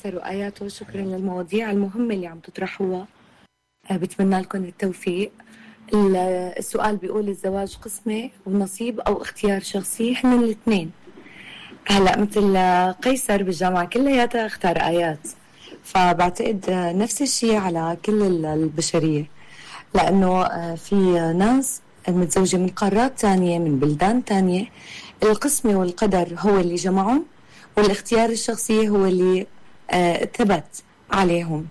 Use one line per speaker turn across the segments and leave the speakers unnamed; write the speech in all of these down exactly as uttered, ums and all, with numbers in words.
قيصر وآياته، شكرا للمواضيع المهمة اللي عم تطرحوها. بتمنى لكم التوفيق. السؤال بيقول الزواج قسمة ونصيب أو اختيار شخصي؟ إحنا الاثنين. هلأ مثل قيصر بالجامعة كلياتها اختار آيات، فبعتقد نفس الشيء على كل البشرية، لأنه في ناس متزوجة من قارات تانية من بلدان تانية، القسمة والقدر هو اللي جمعهم، والاختيار الشخصي هو اللي آه ثبت عليهم.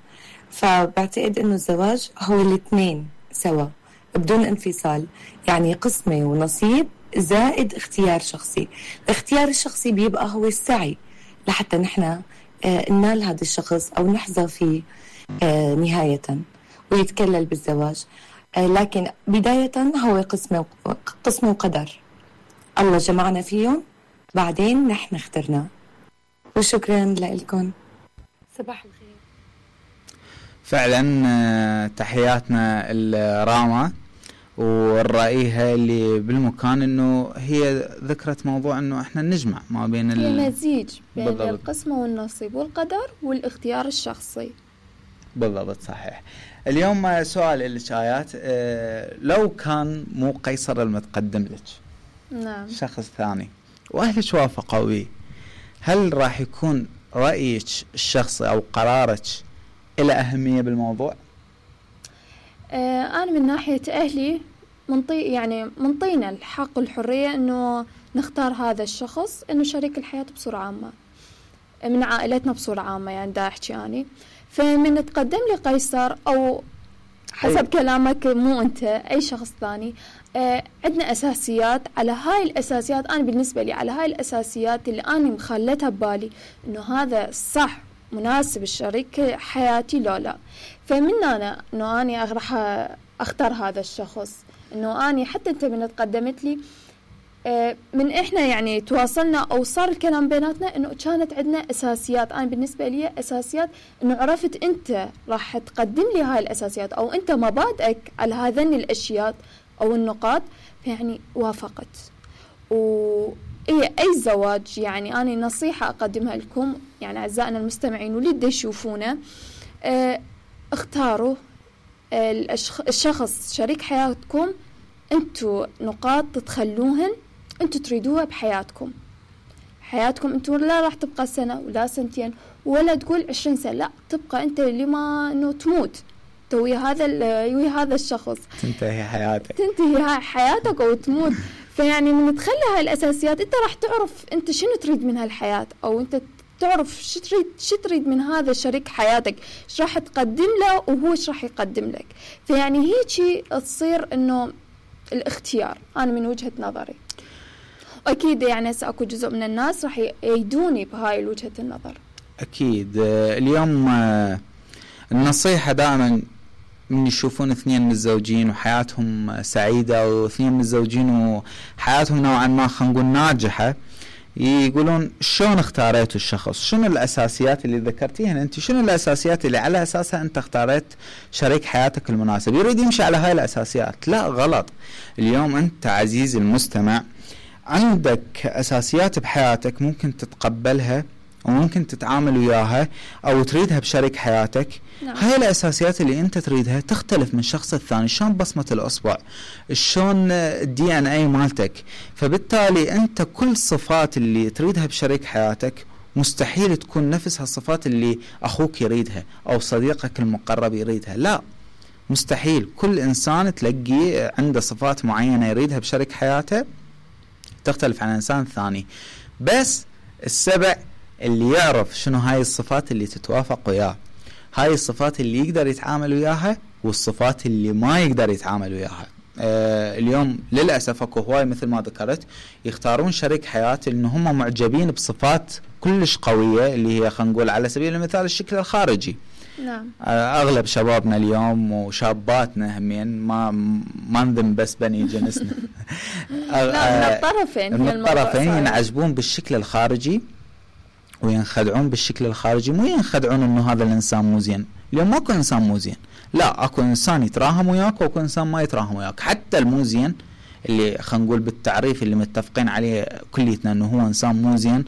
فبعتقد انه الزواج هو الاثنين سوا بدون انفصال، يعني قسمة ونصيب زائد اختيار شخصي. الاختيار الشخصي بيبقى هو السعي لحتى نحن آه ننال هذا الشخص او نحظى فيه آه نهاية ويتكلل بالزواج. آه لكن بداية هو قسمة قسمة وقدر، الله جمعنا فيهم بعدين نحن اخترنا. وشكرا لكم. صباح الخير.
فعلا تحياتنا الراما والرأيها اللي بالمكان، انه هي ذكرت موضوع انه احنا نجمع ما بين
هي مزيج بين بالضبط. القسمة والنصيب والقدر والاختيار الشخصي.
بالضبط صحيح. اليوم سؤال لك آيات، اه لو كان مو قيصر المتقدم لك،
نعم،
شخص ثاني واهلك وافقوا به، هل راح يكون رأيك الشخصي او قرارك له أهمية بالموضوع؟
آه أنا من ناحية أهلي منطي يعني منطينا الحق والحرية إنه نختار هذا الشخص إنه شريك الحياة بصورة عامة من عائلتنا بصورة عامة، يعني دا أحكي يعني. فمن تقدم لي قيصر أو حسب كلامك مو أنت أي شخص ثاني، آه عندنا أساسيات، على هاي الأساسيات أنا بالنسبة لي على هاي الأساسيات اللي أنا مخلتها ببالي إنه هذا صح مناسب الشريك حياتي لو لا. فمن أنا إنه أنا راح أختار هذا الشخص، إنه أنا حتى أنت من تقدمت لي آه من إحنا يعني تواصلنا أو صار الكلام بيناتنا إنه كانت عندنا أساسيات. أنا بالنسبة لي أساسيات إنه عرفت أنت راح تقدم لي هاي الأساسيات أو أنت مبادئك على هذين الأشياء أو النقاط، فيعني وافقت. وإيه أي زواج يعني أنا نصيحة أقدمها لكم يعني أعزائنا المستمعين واللي دا يشوفونا، اه اختاروا اه الشخص شريك حياتكم أنتوا نقاط تتخلوهن أنتوا تريدوها بحياتكم. حياتكم أنتوا لا راح تبقى سنة ولا سنتين ولا تقول عشرين سنة، لا تبقى أنت اللي ما إنه تموت توي هذا ويا هذا الشخص،
تنتهي حياتك
تنتهي هاي حياتك أو تموت. فيعني من تخلي هاي الأساسيات أنت راح تعرف أنت شنو تريد من هالحياة، أو أنت تعرف شو تريد شو تريد من هذا شريك حياتك، شو راح تقدم له وهو شو راح يقدم لك. فيعني هيك تصير إنه الاختيار أنا من وجهة نظري. أكيد يعني سأكون جزء من الناس راح يأيدوني بهاي وجهة النظر.
أكيد. اليوم النصيحة دائما من يشوفون اثنين متزوجين وحياتهم سعيدة واثنين متزوجين وحياتهم نوعا ما خلينا نقول ناجحة، يقولون شلون اختاريتوا الشخص، شنو الأساسيات اللي ذكرتيها أنت، شنو الأساسيات اللي على أساسها أنت اختاريت شريك حياتك المناسب، يريد يمشي على هاي الأساسيات. لا غلط. اليوم أنت عزيزي المستمع عندك أساسيات بحياتك ممكن تتقبلها وممكن تتعامل وياها أو تريدها بشريك حياتك.
نعم.
هاي الأساسيات اللي أنت تريدها تختلف من شخص الثاني، شلون بصمة الأصبع، شلون الدي ان اي مالتك. فبالتالي أنت كل صفات اللي تريدها بشريك حياتك مستحيل تكون نفس هالصفات اللي أخوك يريدها أو صديقك المقرب يريدها، لا مستحيل. كل إنسان تلاقيه عنده صفات معينة يريدها بشريك حياته تختلف عن إنسان ثاني، بس السبع اللي يعرف شنو هاي الصفات اللي تتوافق وياه، هاي الصفات اللي يقدر يتعامل وياها والصفات اللي ما يقدر يتعامل وياها. آه اليوم للأسف اكو هواي مثل ما ذكرت يختارون شريك حياة إنه هم معجبين بصفات كلش قوية اللي هي خلينا نقول على سبيل المثال الشكل الخارجي.
نعم.
آه اغلب شبابنا اليوم وشاباتنا همين ما ما نذم بس بني جنسنا
لا من الطرفين
من الطرفين ينعجبون بالشكل الخارجي وينخدعون بالشكل الخارجي، مو ينخدعون انه هذا الانسان مو زين. اليوم ماكو انسان مو زين، لا اكو انسان يتراهم وياك واكو انسان ما يتراهم وياك. حتى المو زين اللي خلينا نقول بالتعريف اللي متفقين عليه كليتنا انه هو انسان مو زين،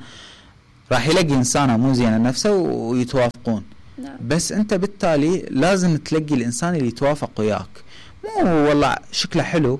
راح يلاقي إنسانة مو زينة نفسه ويتوافقون.
نعم.
بس أنت بالتالي لازم تلاقي الإنسان اللي يتوافق وياك، مو والله شكله حلو،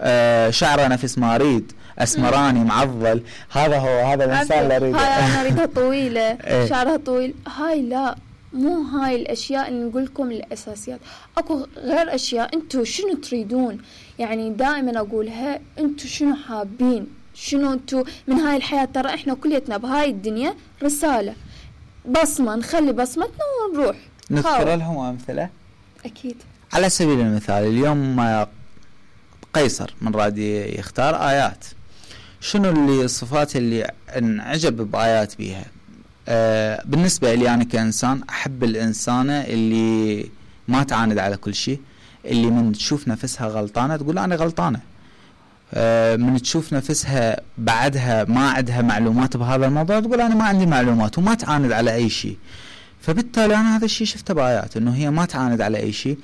آه شعره نفس ما أريد، أسمراني معضل، هذا هو هذا الإنسان اللي أريده.
هاي أنا أريدها طويلة شعرها طويل، هاي لا، مو هاي الأشياء اللي نقول لكم الأساسيات. أكو غير أشياء أنتوا شنو تريدون، يعني دائما أقولها أنتوا شنو حابين، شنو أنتوا من هاي الحياة. ترى إحنا كليتنا بهاي الدنيا رسالة، بصمة، نخلي بصمتنا ونروح.
نذكر لهم أمثلة.
أكيد.
على سبيل المثال اليوم قيصر من راد يختار آيات، شنو اللي الصفات اللي انعجب بآيات بيها؟ آه بالنسبة لي أنا كإنسان أحب الإنسانة اللي ما تعاند على كل شيء، اللي من تشوف نفسها غلطانة تقول أنا غلطانة، آه من تشوف نفسها بعدها ما عندها معلومات بهذا الموضوع تقول أنا ما عندي معلومات، وما تعاند على أي شيء. فبالتالي أنا هذا الشيء شفته بآيات، إنه هي ما تعاند على أي شيء،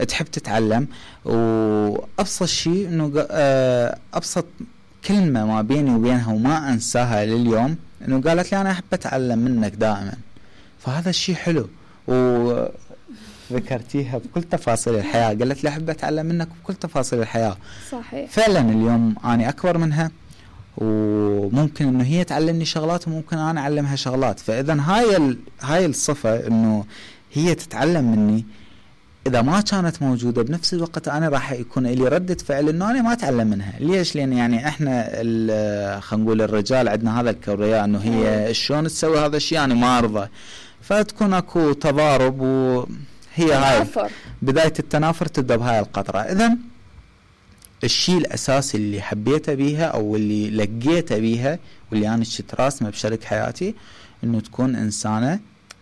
تحب تتعلم. وأبسط شيء إنه آه أبسط كلمة ما بيني وبينها وما أنساها لليوم إنه قالت لي أنا أحب أتعلم منك دائما. فهذا الشيء حلو، وذكرتيها بكل تفاصيل الحياة، قالت لي أحب أتعلم منك بكل تفاصيل الحياة.
صحيح.
فعلا اليوم أنا أكبر منها، وممكن إنه هي تعلمني شغلات وممكن أنا أعلمها شغلات. فإذا هاي ال... هاي الصفة إنه هي تتعلم مني، إذا ما كانت موجودة بنفس الوقت أنا راح يكون لي ردة فعل إنه أنا ما أتعلم منها. ليش؟ لأن يعني إحنا خلينا نقول الرجال عندنا هذا الكبرياء إنه هي شلون تسوي هذا الشيء أنا ما أرضى، فتكون أكو تضارب، وهي هاي بداية التنافر تبدأ بهاي القطرة. إذن الشيء الأساسي اللي حبيته بيها أو اللي لقيته بيها واللي أنا شفت راسمه بشريك حياتي إنه تكون إنسانة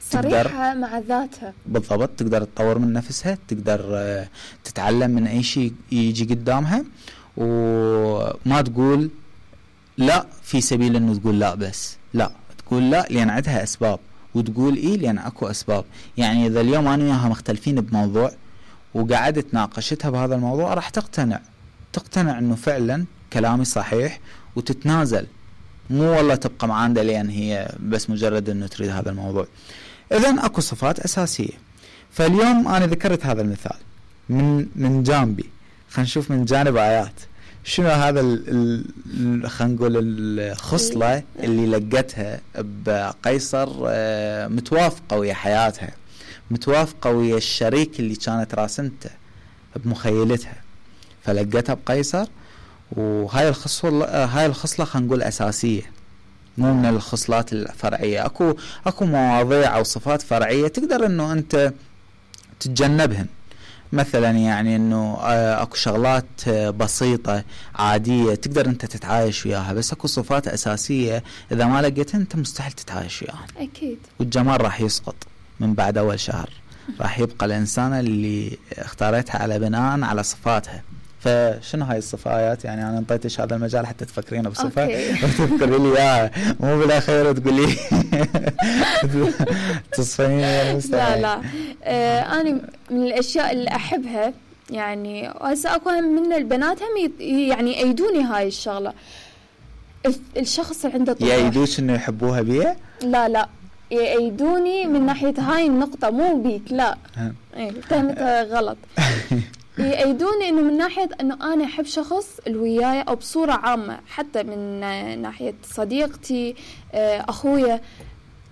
صريحة مع ذاتها.
بالضبط، تقدر تطور من نفسها، تقدر تتعلم من أي شيء يجي قدامها، وما تقول لا في سبيل إنه تقول لا، بس لا تقول لا لأن عندها أسباب، وتقول إيه لأن أكو أسباب. يعني إذا اليوم أنا وياها مختلفين بموضوع وقعدت ناقشتها بهذا الموضوع راح تقتنع تقتنع إنه فعلا كلامي صحيح، وتتنازل، مو والله تبقى معاندة لأن هي بس مجرد إنه تريد هذا الموضوع. إذن أكو صفات أساسية. فاليوم أنا ذكرت هذا المثال من من جانبي، خلينا نشوف من جانب آيات شنو هذا ال خلينا نقول الخصلة اللي لقتها بقيصر متوافقة ويا حياتها، متوافقة ويا الشريك اللي كانت راسمته بمخيلتها، فلقتها بقيصر. وهاي الخصلة هاي الخصلة خلينا نقول أساسية، مو من الخصلات الفرعية. أكو أكو مواضيع أو صفات فرعية تقدر إنه أنت تتجنبهن، مثلا يعني إنه أكو شغلات بسيطة عادية تقدر أنت تتعايش وياها، بس أكو صفات أساسية إذا ما لقيتها أنت مستحيل تتعايش وياها.
أكيد.
والجمال راح يسقط من بعد أول شهر، راح يبقى الإنسانة اللي اختارتها على بناء على صفاتها. فشنو هاي الصفات؟ يعني أنا انطيتش هذا المجال حتى تفكرين بصفة وتذكري لي إياها، مو بالأخير تقولي تصفيني.
لا لا آه أنا من الأشياء اللي أحبها، يعني هسه أكو من البنات هم يعني يأيدوني هاي الشغلة. الشخص اللي عنده طموح
يأيدوش إنه يحبوها بيه؟
لا لا يأيدوني من ناحية هاي النقطة، مو بيك لا إيه فهمتها غلط. يأيدوني إنه من ناحية إنه أنا أحب شخص الوياية، أو بصورة عامة حتى من ناحية صديقتي أخويا،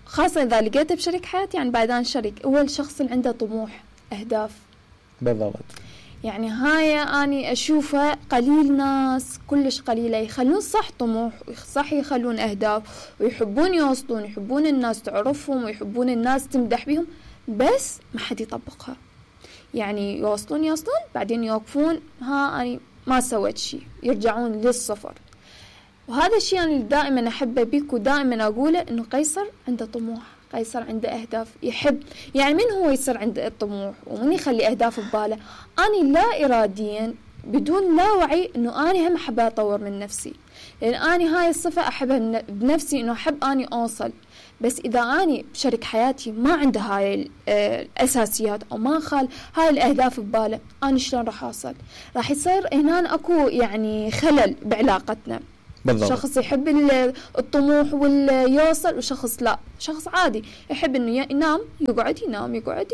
خاصة إذا لقيته بشريك حياتي. يعني بعدان شريك هو الشخص اللي عنده طموح أهداف.
بالضبط.
يعني هاي أنا أشوفها قليل ناس، كلش قليلة يخلون صح طموح، صح يخلون أهداف، ويحبون يوصلون، يحبون الناس تعرفهم، ويحبون الناس تمدح بهم، بس ما حد يطبقها. يعني يوصلون يوصلون بعدين يوقفون، ها أنا ما سويت شيء، يرجعون للصفر. وهذا الشيء أنا دائما أحبه بيك، ودائما أقوله إنه قيصر عنده طموح، قيصر عنده أهداف، يحب. يعني من هو يصير عنده الطموح ومن يخلي أهداف بباله؟ أنا لا إراديا بدون لا وعي إنه أنا هم أحب أطور من نفسي، لأن أنا هاي الصفة أحبها بنفسي، إنه أحب أني أوصل. بس إذا أنا بشريك حياتي ما عنده هاي الأساسيات أو ما خال هاي الأهداف بباله، أنا شلون راح أوصل؟ راح يصير هنا أكو يعني خلل بعلاقتنا.
بالضبط.
شخص يحب الطموح واليوصل، وشخص لا، شخص عادي يحب انه ينام يقعد ينام يقعد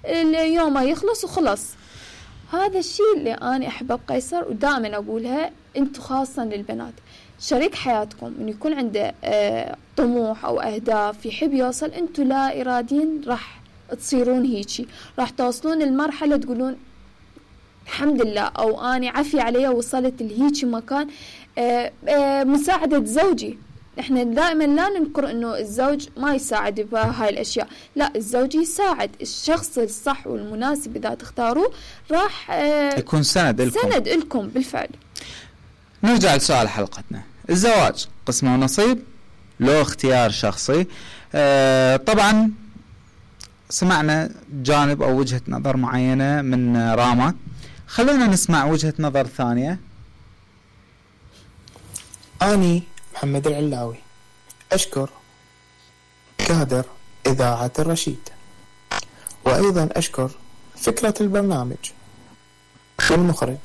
اليوم ما يخلص وخلص. هذا الشيء اللي أنا أحبه بقيصر، ودائما أقولها أنتم خاصة للبنات، شريك حياتكم إنه يكون عنده آه طموح أو أهداف يحب يوصل، أنتم لا إراديا راح تصيرون هيجي، راح توصلون المرحلة تقولون الحمد لله، أو أنا عافية عليها وصلت لهيجي مكان. آه آه مساعدة زوجي، احنا دائما لا ننكر انه الزوج ما يساعد بهاي الاشياء، لا الزوج يساعد، الشخص الصح والمناسب اذا تختاروه راح اه
يكون سند لكم
سند لكم بالفعل.
نرجع لسؤال حلقتنا، الزواج قسمة ونصيب لو اختيار شخصي؟ اه طبعا سمعنا جانب او وجهة نظر معينة من راما، خلونا نسمع وجهة نظر ثانية.
اني محمد العلاوي أشكر كادر إذاعة الرشيد، وأيضا أشكر فكرة البرنامج والمخرج.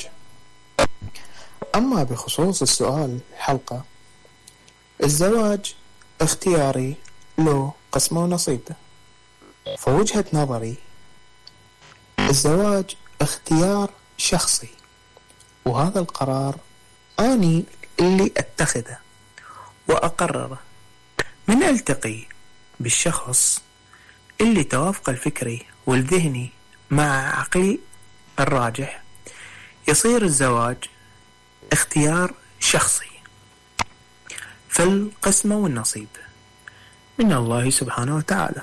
أما بخصوص السؤال الحلقة، الزواج اختياري له قسمه ونصيبه، فوجهة نظري الزواج اختيار شخصي، وهذا القرار أني اللي أتخذه وأقرره من ألتقي بالشخص اللي توافق الفكري والذهني مع عقلي الراجح، يصير الزواج اختيار شخصي، فالقسمة والنصيب من الله سبحانه وتعالى.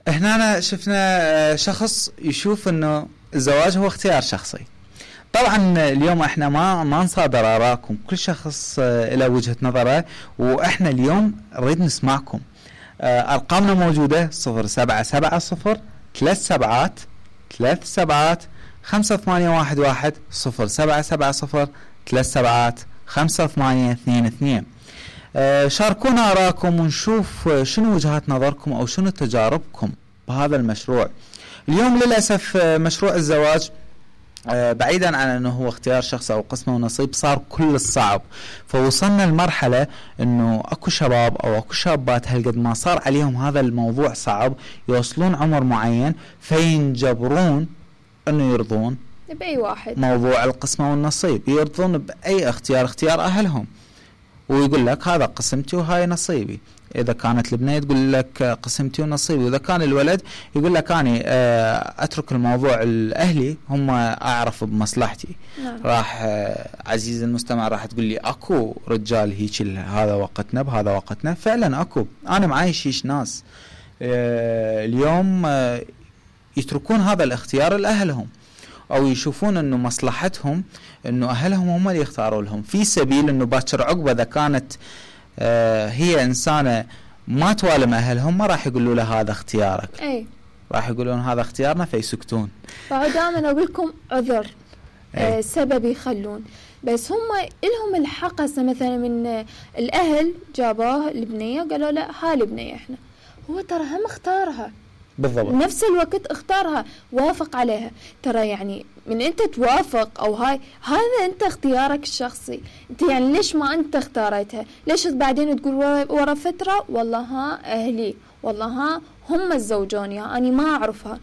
هنا شفنا شخص يشوف انه الزواج هو اختيار شخصي. طبعا اليوم احنا ما ما نصادر آراءكم، كل شخص له وجهة نظره، واحنا اليوم نريد نسمعكم. ارقامنا موجودة صفر سبعة سبعة صفر ثلاث سبعات ثلاث سبعات خمسة ثمانية واحد واحد صفر سبعة سبعة صفر ثلاث سبعات خمسة ثمانية اثنين اثنين. شاركونا آراءكم ونشوف شنو وجهات نظركم او شنو تجاربكم بهذا المشروع. اليوم للأسف مشروع الزواج بعيدا عن انه هو اختيار شخص او قسمه ونصيب صار كل الصعب، فوصلنا لمرحله انه اكو شباب او اكو شابات هالقد ما صار عليهم هذا الموضوع صعب يوصلون عمر معين فينجبرون انه يرضون
باي واحد
موضوع القسمه والنصيب، يرضون باي اختيار اختيار اهلهم، ويقول لك هذا قسمتي وهاي نصيبي. إذا كانت البنية تقول لك قسمتي ونصيبي، وإذا كان الولد يقول لك أنا أترك الموضوع الأهلي هم أعرف بمصلحتي.
نعم.
راح عزيز المستمع راح تقول لي أكو رجال هيك هذا وقتنا بهذا وقتنا، فعلا أكو، أنا معاي شيش ناس اليوم يتركون هذا الاختيار لأهلهم، أو يشوفون أنه مصلحتهم أنه أهلهم هم اللي يختاروا لهم، في سبيل أنه باكر عقبة إذا كانت آه هي إنسانة ما توالم أهلهم ما راح يقولوا له هذا اختيارك،
أي
راح يقولون هذا اختيارنا فيسكتون.
فدائما أقول لكم عذر آه سبب يخلون، بس هم إلهم الحق مثلا من الأهل جابوه البنية قالوا لا هاي البنية إحنا، هو ترى هم اختارها
بالضبط،
نفس الوقت اختارها وافق عليها. ترى يعني من انت توافق او هاي هذا انت اختيارك الشخصي، انت يعني ليش ما انت اختارتها؟ ليش بعدين تقول ورا فترة والله ها اهلي والله ها هم الزوجون يا اني ما اعرفها؟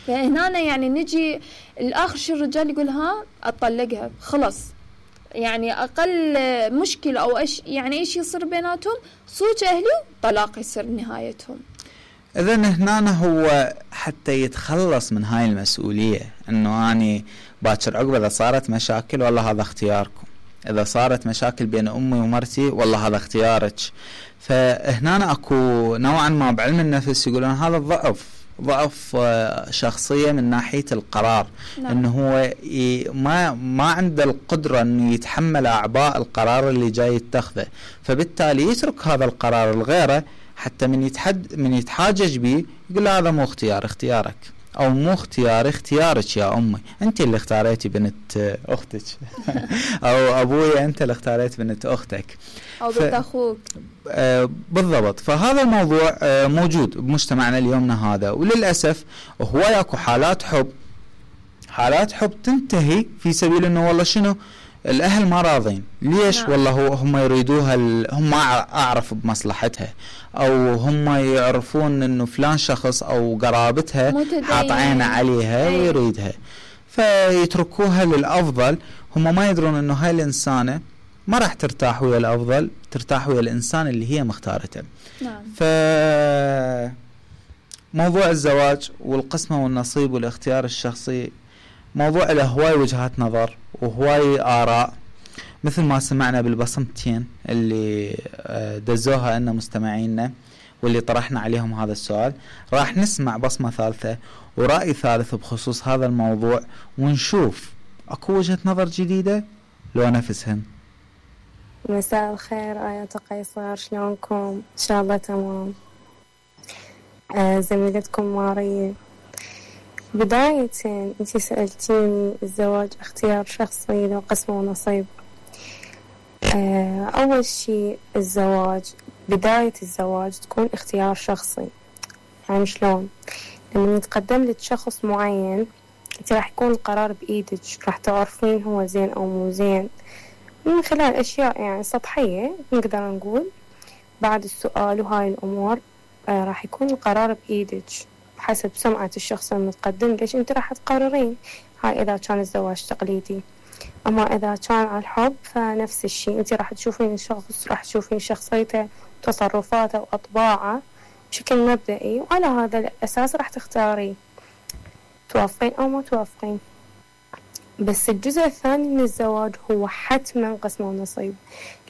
فهنا يعني نجي الاخر شو الرجال يقول ها اطلقها خلص، يعني اقل مشكلة او ايش يعني ايش يصير بيناتهم صوت اهلي طلاق يصير نهايتهم.
إذن هنا هو حتى يتخلص من هاي المسؤولية، إنه أنا باكر عقبة إذا صارت مشاكل والله هذا اختياركم، إذا صارت مشاكل بين أمي ومرتي والله هذا اختيارك. فهنا أكو نوعا ما بعلم النفس يقولون هذا ضعف ضعف شخصية من ناحية القرار. نعم. إنه هو ما ما عنده القدرة إنه يتحمل أعباء القرار اللي جاي يتخذه، فبالتالي يترك هذا القرار لغيره، حتى من يتحد من يتحاجج بيه يقول هذا مو اختيار اختيارك، او مو اختيار اختيارك يا امي، انت اللي اختاريتي بنت اختك او ابويا انت اللي اختاريت بنت اختك
او بنت اخوك.
آه بالضبط. فهذا الموضوع آه موجود بمجتمعنا اليومنا هذا، وللاسف هو ياكو حالات حب حالات حب تنتهي في سبيل انه والله شنو الاهل ما راضين ليش نعم. والله هو هم يريدوها هم اعرف بمصلحتها او هم يعرفون انه فلان شخص او قرابتها حاط عينه عليها أي. ويريدها فيتركوها للافضل. هم ما يدرون انه هاي الانسانه ما راح ترتاح ويا الافضل، ترتاح ويا الانسان اللي هي مختارته.
نعم.
ف موضوع الزواج والقسمه والنصيب والاختيار الشخصي موضوع له هواي وجهات نظر وهواي آراء، مثل ما سمعنا بالبصمتين اللي دزوها لنا مستمعينا واللي طرحنا عليهم هذا السؤال. راح نسمع بصمة ثالثة ورأي ثالث بخصوص هذا الموضوع ونشوف أكو وجهة نظر جديدة لو نفسهن.
مساء الخير آيات قيصر، شلونكم؟ إن شاء الله تمام. آه زميلتكم ماريا، بداية أنتي سألتيني الزواج اختيار شخصي لو قسمة ونصيب. آه أول شيء الزواج بداية الزواج تكون اختيار شخصي. يعني شلون؟ لما يتقدم لك شخص معين أنت راح يكون القرار بإيدك، راح تعرفين هو زين أو مو زين من خلال أشياء يعني سطحية نقدر نقول. بعد السؤال وهاي الأمور آه راح يكون القرار بإيدك حسب سمعة الشخص المتقدم ليش انت راح تقررين. هاي اذا كان الزواج تقليدي. اما اذا كان على الحب فنفس الشيء، انت راح تشوفين الشخص، راح تشوفين شخصيته وتصرفاته واطباعه بشكل مبدئي، وعلى هذا الاساس راح تختارين توافقين او ما توافقين. بس الجزء الثاني من الزواج هو حتما قسمة ونصيب،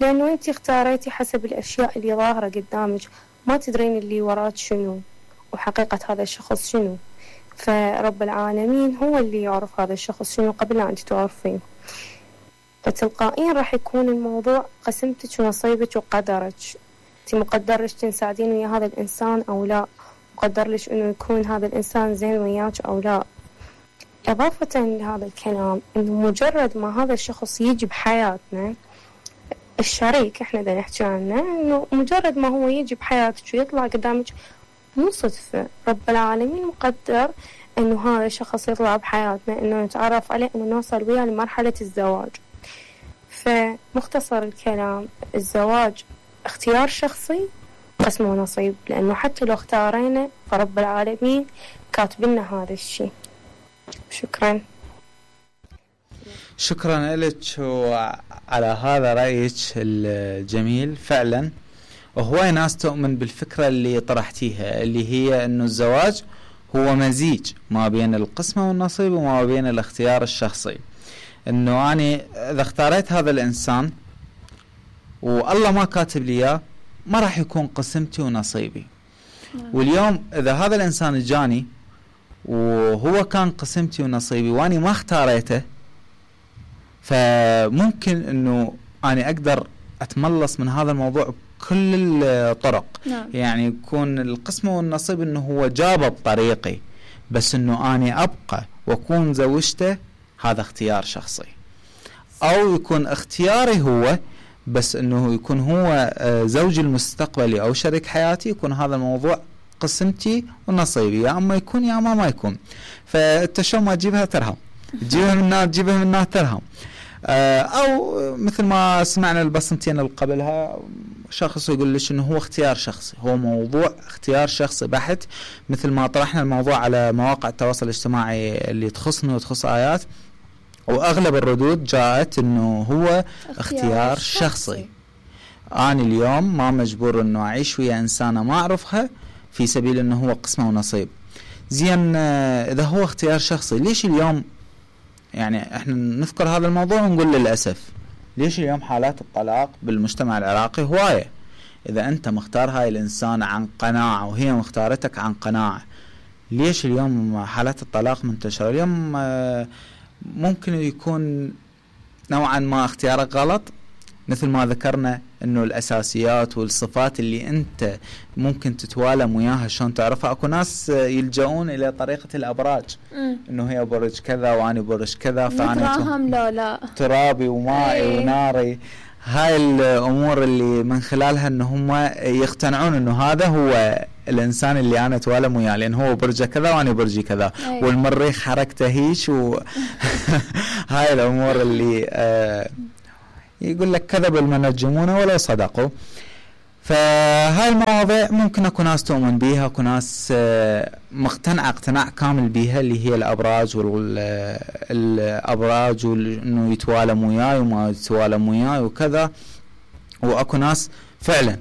لانه انت اختاريتي حسب الاشياء اللي ظاهرة قدامك، ما تدرين اللي وراك شنو وحقيقة هذا الشخص شنو. فرب العالمين هو اللي يعرف هذا الشخص شنو قبل لا أنت تعرفين. فتلقائيا راح يكون الموضوع قسمتك ونصيبك وقدرك. أنت مقدر لك تنساعدين ويا هذا الإنسان أو لا، مقدر لك إنه يكون هذا الإنسان زين وياك أو لا. إضافة لهذا الكلام إنه مجرد ما هذا الشخص يجي بحياتنا، الشريك إحنا دا نحكي عنه، إنه مجرد ما هو يجي بحياتك ويطلع قدامك مو صدفة، رب العالمين مقدر إنه هذا الشخص يطلع بحياتنا، إنه نتعرف عليه، إنه نوصل وياه لمرحلة الزواج. فمختصر الكلام الزواج اختيار شخصي قسم ونصيب، لأنه حتى لو اختارينا فرب العالمين كاتبنا هذا الشيء. شكرا.
شكرا لك على هذا رأيك الجميل. فعلا وهواي ناس تؤمن بالفكرة اللي طرحتيها، اللي هي انه الزواج هو مزيج ما بين القسمة والنصيب وما بين الاختيار الشخصي. انه اني اذا اختاريت هذا الانسان والله ما كاتب لي اياه ما راح يكون قسمتي ونصيبي. واليوم اذا هذا الانسان جاني وهو كان قسمتي ونصيبي واني ما اختاريته، فممكن انه اني اقدر اتملص من هذا الموضوع كل الطرق.
نعم.
يعني يكون القسمة والنصيب انه هو جابه بطريقي، بس انه اني ابقى واكون زوجته هذا اختيار شخصي. او يكون اختياري هو بس انه يكون هو زوجي المستقبلي او شريك حياتي، يكون هذا الموضوع قسمتي ونصيبي، يا اما يكون يا اما ما يكون. فانت شو ما تجيبها ترهم، تجيبها من نار تجيبها من نار ترهم. او مثل ما سمعنا البصمتين اللي قبلها شخص يقول لك انه هو اختيار شخصي، هو موضوع اختيار شخصي بحت، مثل ما طرحنا الموضوع على مواقع التواصل الاجتماعي اللي تخصني وتخص آيات، واغلب الردود جاءت انه هو اختيار, اختيار شخصي. شخصي انا اليوم ما مجبور انه اعيش ويا انسانه ما اعرفها في سبيل انه هو قسمه ونصيب. زين اذا هو اختيار شخصي ليش اليوم يعني احنا نذكر هذا الموضوع ونقول للأسف ليش اليوم حالات الطلاق بالمجتمع العراقي هواية؟ إذا أنت مختار هاي الإنسان عن قناعة وهي مختارتك عن قناعة، ليش اليوم حالات الطلاق منتشرة؟ اليوم ممكن يكون نوعا ما اختيارك غلط، مثل ما ذكرنا انه الاساسيات والصفات اللي انت ممكن تتوالم وياها شلون تعرفها. اكو ناس يلجؤون الى طريقة الابراج،
مم.
انه هي برج كذا وانا برج كذا،
فانا لا لا
ترابي ومائي
ايه.
وناري. هاي الامور اللي من خلالها ان هم يقتنعون انه هذا هو الانسان اللي انا اتوالم وياه، لان هو برجه كذا وانا برجي كذا،
أيوة.
والمريخ حركته هيش و هاي الامور اللي آه يقول لك كذب المنجمون ولو صدقوا. فهاي المواضيع ممكن اكو ناس تؤمن بيها، اكو ناس مقتنعه اقتناع كامل بيها، اللي هي الابراج والابراج وانه يتوالم وياي وما يتوالم وياي وكذا، واكو ناس فعلا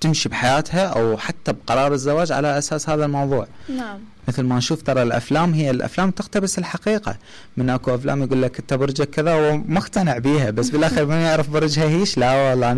تمشي بحياتها او حتى بقرار الزواج على اساس هذا الموضوع.
نعم.
مثل ما نشوف ترى الافلام، هي الافلام تقتبس الحقيقه، من اكو افلام يقول لك انت برجك كذا ومقتنع بيها، بس بالاخر من يعرف برجها هيش، لا والله انا